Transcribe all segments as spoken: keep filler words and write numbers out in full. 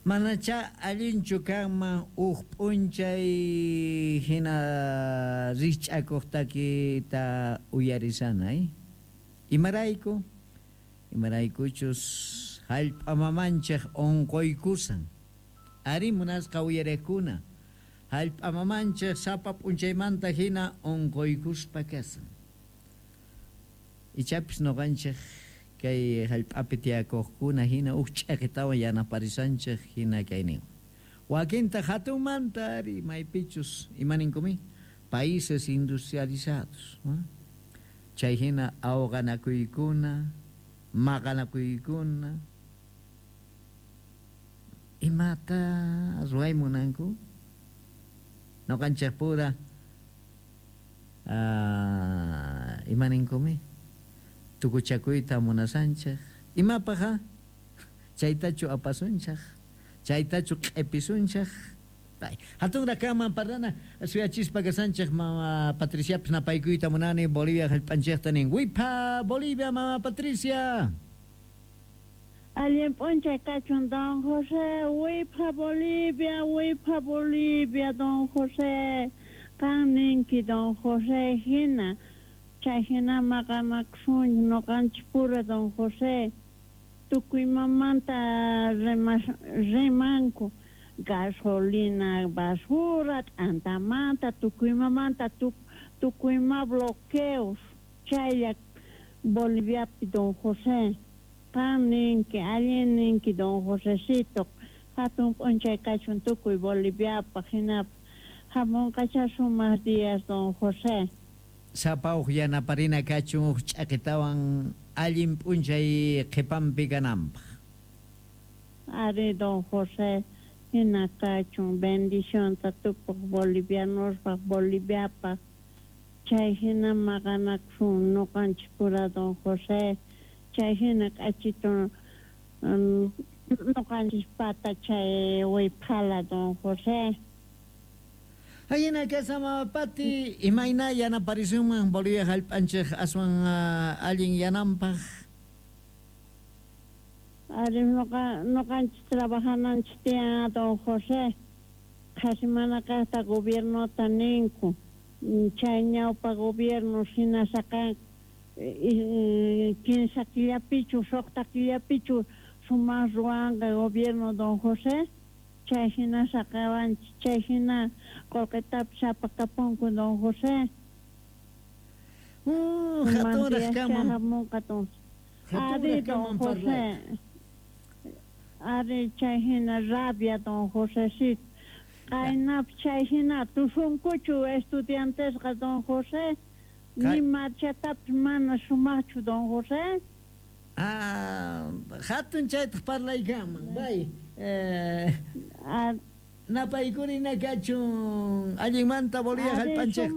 Manacha allinchu kanman uj p'unchay hina rikch'akuq takita uyarisana, eh? Imarayku? Imaraykuchus hallp'a mamanchik unquykusan. Ari munasqa uyariqkuna, hallp'a mamanchik sapa p'unchaymanta hina unquykuspa kasan. Ichapis nuqanchik kay hallp'api tiyakuqkuna hina uj ch'iqitawan yanaparisanchik hina kayninwan. Wakintaq hatunmanta ari maypichus imaninkumi países industrializados, ¿no? Chay hina awqanakuykuna, maqanakuykuna, imata ruway munanku? Nuqanchik pura ah, imaninkumi tukuchakuyta munasanchik. Imapaq chaytachu apasunchik, chaytachu q'ipisunchik. Hatunraq kanman parlana suyachispa kasanchik mama Patriciapis napaykuyta munani Bolivia hallp'anchikta nin. Wipa Bolivia mama Patricia. Allin p'unchay kachun don José, wipa Bolivia, wipa Bolivia don José. Qan ninki don José hina. Chay hina maqanakusunchik nuqanchik pura don José. Tukuy mamanta rimanku. Gasolina, basura, t'antamanta, tukuy mamanta, tukuy ma bloqueos. Chaylla Boliviapi don José. Qan ninki, allin ninki don Josecito. Hatun p'unchay kachun tukuy Boliviapaq hinapaq. Hamunqacha sumaq días don José. Sapa uj yanaparina kachun uj ch'aqitawan allin p'unchay qhipanpi kananpaq. Ari don José, hina kachun bendicionta tukuq bolivianospaq, Boliviapaq. Chay hina maqanakusun nuqanchik pura don José. Chay hina k'achitu nuqanchik pata chay wiphala don José. Hayina kasa mama Pati, imayna yanaparisunman Bolivia hallp'anchik aswan allin yananpaq. Ari nuqa nuqanchik trabajananchik tiyan don José. Qhasi mana kaqta gobiernota ninku. Chay ñawpa gobierno hina saqan kinsa killapichu suqta killapichu sumaq ruwanqa gobierno don José. Chay hina saqawanchik, chay hina qullqitapis apakapunku don José. Hatunraq kanman. Hamunqa don. Ari don José. Ari chay hina rabia don Josecito. Qaynap chay hina tusunkuchu estudiantesqa don José. Ni marchatapis mana sumaqchu don José. Ah, hatun chaytaq parlaykanman. Bay. Eh, napaykurina kachun allinmanta Bolivia hallp'anchik.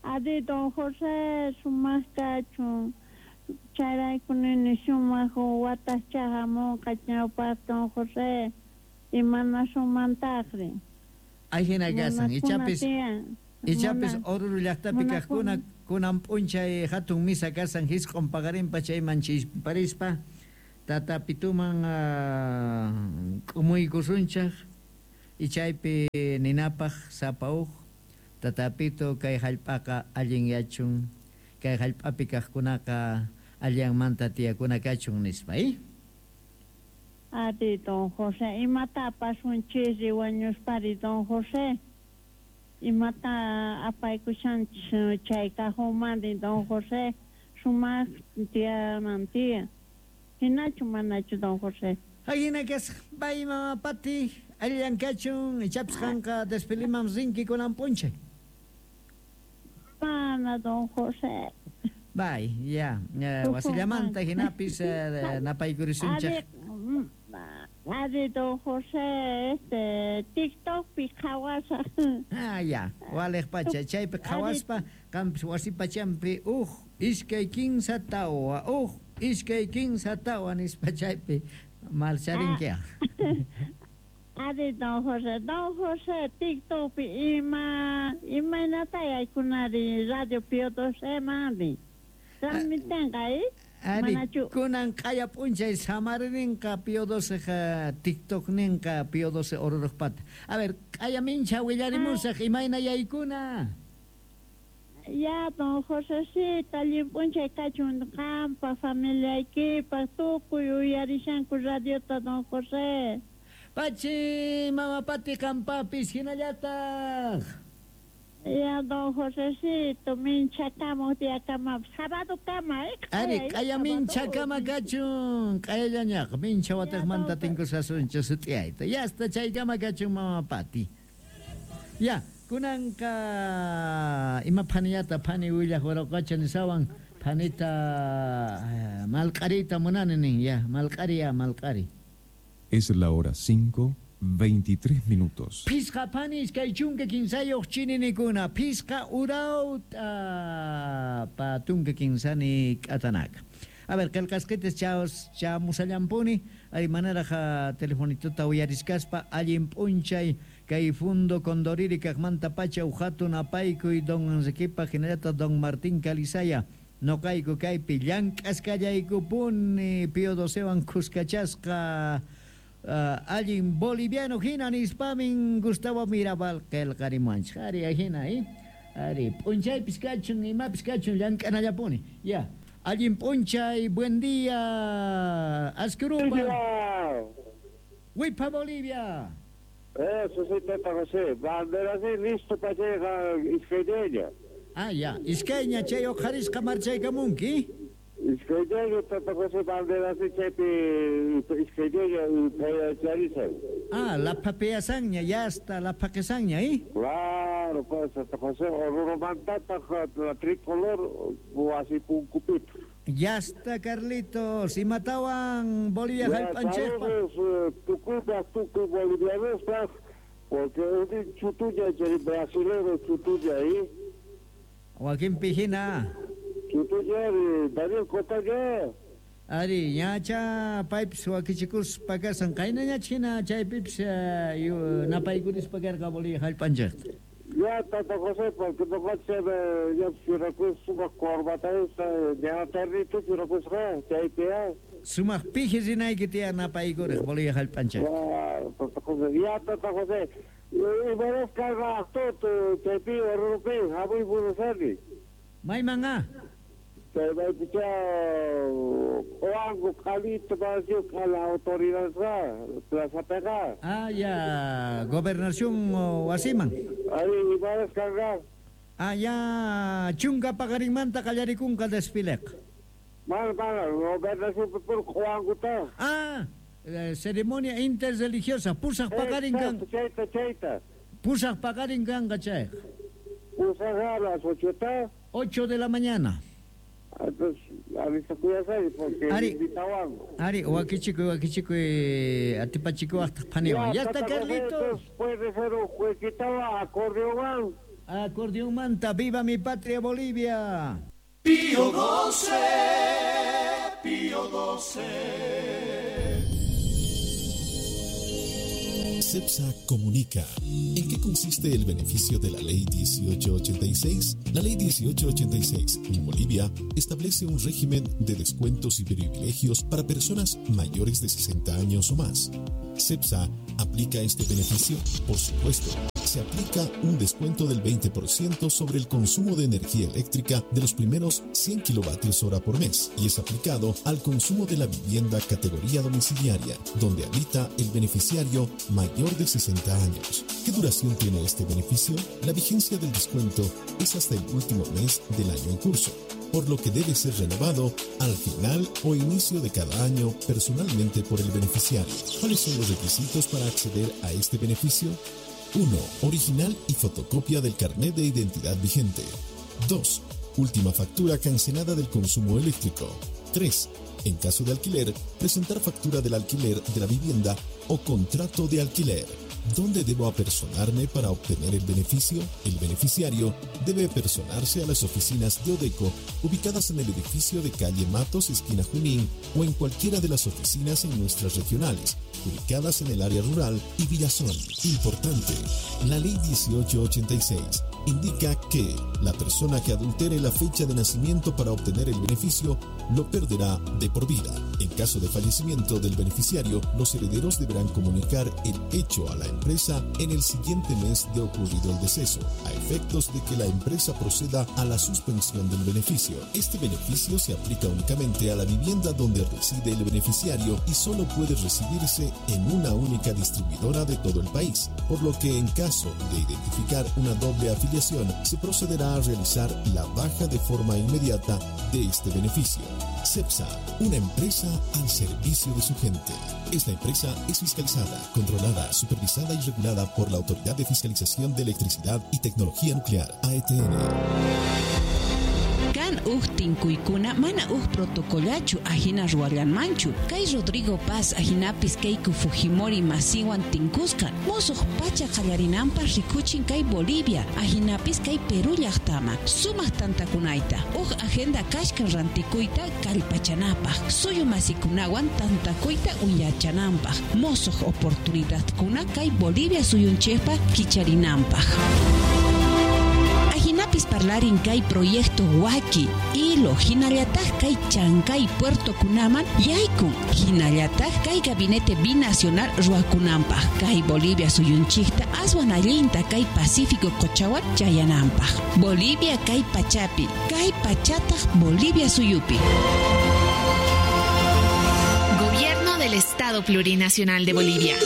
Ari don José sumaq kachun. Chayrayku nini sumaq watascha hamunqa ñawpaq don José. Imana sumantaqri. Ahina kasan, ichapis ichapis Oruro llaqtapi kaqkuna kunan p'unchay hatun misa kasan hisq'un paqarinpa chayman chisparispa tata pituman k'umuykusunchik ichaypi ninapaq sapa uj tata pitu kay hallp'aqa allinyachun kay hallp'api kaqkunaqa allanmanta tiyakuna kachun nispa, eh? Ari don José, imata apasunchis wañuspari don José. Imata apaykushanchis chay cajomari don José. Sumaq tiyanan tiyan. Hinachu manachu don José. Ahina kasaq, bay mama Pati, allan kachun, ichapis qanqa desfiliman rinki kunan p'unchay. Mana don José. Bay, ya, wasillamanta hinapis napaykurisunchik. Ari don José, este, TikTokpi qhawasaq. Ah, ya, waliq pacha, chaypi qhawaspa, qampis wasi pachampi uj iskay kinsa tawa, uj iskay kinsa tawa nispa chaypi marcharinki. Ari don José, don José, TikTokpi ima imaynata yaykunari Radio Pío doce mari. Transmitenqa, eh? Ari, kunan q'aya p'unchay samarinqa Pío doce TikTok ninqa Pío doce Ororojpata. A ver, q'aya mincha willarimusaq imayna yaykuna. Ya, don Josecito, allin p'unchay kachun qampa familiaykipaq tukuy uyarishanku radiota don José. Pachi, mama Pati qampapis hinallataq. Ya, don Josecito, minchakamuq tiyakamapas sabadukama, eh? Ari, q'aya minchakama kachun, q'ayallañaqa mincha wataqmanta tinkusasunchik sut'iyayta. Ya hasta chaykama kachun mama Pati. Ya, kunanqa ima phaniyata phani willaq waraqacha nisawan phanita malq'ariyta munani nin, ya, malq'ari ya, malq'ari. Es la hora cinco, veintitrés minutos. Pisqa panis kay chunka kinsayuq chininikuna, pisqa urawta patunka kinsani k'atanaka. A ver, qillqasqitas chaos chamusallampuni, ari manaraq telefonituta uyariskaspa allin p'unchay kay fundo Condoriri kaqmanta pacha uhatun apaykuy don Enriquepa hinallataq don Martín Calizaya. Noqayku kaypi llank'askallaykupuni Pío docewan khuskachasqa Uh, allin boliviano hina nispamin Gustavo Mirabal qillqarimuwanchik. Ari hina, eh? Ari p'unchaypis kachun imapis kachun llank'anallapuni. Ya, allin p'unchay, buen día, Ascurupa. Wipa Bolivia. Eso sí, Tata José. Bandera sí, listo para llegar iskayña. Ah, ya, iskayña chay uqharisqa marchaykamunki. Iskayña Tata José bandera sí chaypi iskayña charisay. Ah, la papeasanña, ya hasta la paquesanña, ¿eh? Claro, pues Tata José, orurumantata la tricolor wasi punkupita. Ya está, Carlitos, y matawan Bolivia jallp'anchikpa. Tukuypaq tukuy bolivianospaq, porque un chutuña chay brasilero chutuña, ¿eh? Joaquín Pijina. Chutuña, Daniel Cotaña. Ari, ñacha paypis wakichikuspa kasan qaynañach hina chaypipis napaykurispa karqa Bolivia jallp'anchikta. Ya, Tata José, porque noqanchik ya churakus sumaq corbata ya ternito churakusqa chaypi ya. Sumaq piji rinayki tiyan napaykuriq Bolivia jallp'anchikta. Ya, Tata José, ya, Tata José. Imarás karqa aqtutu chaypi Orurupi hamuy munasani. Mayman a? Chay maypicha Oango q'alito parecido a la autoridad plazapiqa. Ah, ya, gobernación wasiman. Ari, imarás karqa. Ah, ya, chunka paqarinmanta qallarikunqa desfileqa. Mana, mana, gobernación pur Oanguta. Ah, eh, ceremonia interreligiosa, pusaq paqarin kan. Chayta, chayta. Pusaq paqarin kanqa chayqa. Pusaq a las ocho. Ocho de la mañana. Entonces, avisakuyasay porque Ari, invitawanku. Ari, wakichikuy, wakichikuy, atipachikuwaqtaq phaniwan. Ya está, Carlitos. Puede ser un jueguito acordeón. Acordeonmanta, viva mi patria Bolivia. Pío doce, Pío doce. CEPSA comunica. ¿En qué consiste el beneficio de la Ley dieciocho ochenta y seis? La Ley dieciocho ochenta y seis en Bolivia establece un régimen de descuentos y privilegios para personas mayores de sesenta años o más. CEPSA aplica este beneficio, por supuesto. Se aplica un descuento del veinte por ciento sobre el consumo de energía eléctrica de los primeros cien kilovatios hora por mes y es aplicado al consumo de la vivienda categoría domiciliaria, donde habita el beneficiario mayor de sesenta años. ¿Qué duración tiene este beneficio? La vigencia del descuento es hasta el último mes del año en curso, por lo que debe ser renovado al final o inicio de cada año personalmente por el beneficiario. ¿Cuáles son los requisitos para acceder a este beneficio? uno. Original y fotocopia del carnet de identidad vigente. dos. Última factura cancelada del consumo eléctrico. tres. En caso de alquiler, presentar factura del alquiler de la vivienda o contrato de alquiler. ¿Dónde debo apersonarme para obtener el beneficio? El beneficiario debe apersonarse a las oficinas de Odeco ubicadas en el edificio de calle Matos, esquina Junín, o en cualquiera de las oficinas en nuestras regionales, ubicadas en el área rural y Villazón. Importante, la ley dieciocho ochenta y seis indica que la persona que adultere la fecha de nacimiento para obtener el beneficio lo perderá de por vida. En caso de fallecimiento del beneficiario, los herederos deberán comunicar el hecho a la empresa en el siguiente mes de ocurrido el deceso, a efectos de que la empresa proceda a la suspensión del beneficio. Este beneficio se aplica únicamente a la vivienda donde reside el beneficiario y solo puede recibirse en una única distribuidora de todo el país, por lo que en caso de identificar una doble afiliación, se procederá a realizar la baja de forma inmediata de este beneficio. CEPSA, una empresa al servicio de su gente. Esta empresa es fiscalizada, controlada, supervisada y regulada por la Autoridad de Fiscalización de Electricidad y Tecnología Nuclear, A E T N. Kan uj tinkuykuna mana uj protocolachu ajina ruwallanmanchu. Kay Rodrigo Paz ajinapis Keiko Fujimori masiwan tinkusqa musuq pacha qallarinanpaq rikuchin kay Bolivia ajinapis kay Perú llaqtama sumaq tantakunayta uj agenda kashkan rantikuyta kallpachanapaq suyu masikunawan tantakuyta uyachananpaq musuq oportunidadkuna kay Bolivia suyunchikpa kicharinanpaq. Ajinapis parlarin kay proyecto Waki, Ilo, hinallataq kay Chancay Puerto kunaman yaykun, hinallataq kay gabinete binacional ruwakunanpaq, kay Bolivia suyunchikta aswan allinta kay Pacífico qochawan chayananpaq. Bolivia kay pachapi, kay pachataq Bolivia suyupi. Gobierno del Estado Plurinacional de Bolivia.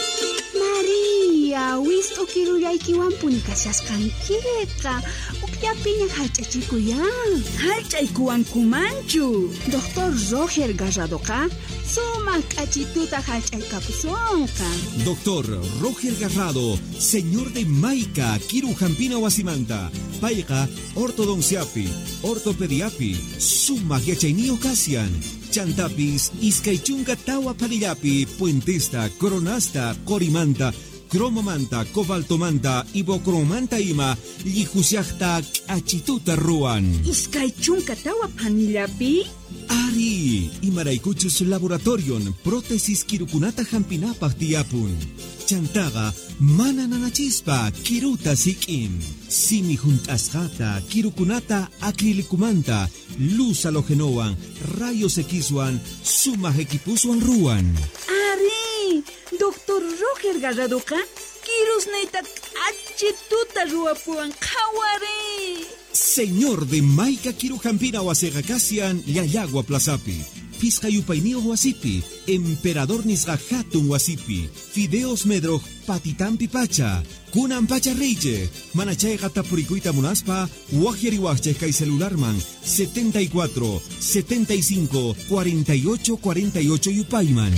Maria, wist'u kirullaykiwanpuni kashasqankiqa. Ukllapiña hallch'achikuyan. Hallch'aykuwankumanchu. Doctor Roger Garradoqa sumaq k'achituta hallch'aykapusunqa. Doctor Roger Garrado, señor de Maica, Kiru Jampina Wasimanta, payqa ortodonciapi, ortopediapi, sumaq yachayniyuq kasian. Chantapis, iskaychunka tawa panillapi, puentesta, coronasta, corimanta, cromomanta, cobaltomanta, ibocromanta ima, llijusiaqta k'achituta ruwan. Iskaychunka tawa panillapi? Ari, imaraykuchus laboratorion, prótesis kirukunata hampinapaq tiyapun. Chantaqa mana nanachispa kiruta sik'in. Simi junt'asqata, kirukunata acrilicumanta, luz halogenowan, rayos Xwan, sumaq equipuswan ruwan. Ari, Doctor Roger Garradoqa kirusniyta k'achituta ruwapuwan qhawari. Señor de Maica Kirujampina wasiqa kasian Llallagua Plazapi, Pisqa yupayniyuq wasipi, Emperador nisqa hatun wasipi, Fideos Medroj patitampi pacha, kunan pacha reyche, mana chayqa tapurikuyta munaspa, waqyariwaqchej kay celularman setenta y cuatro, setenta y cinco, cuarenta y ocho, cuarenta y ocho yupayman.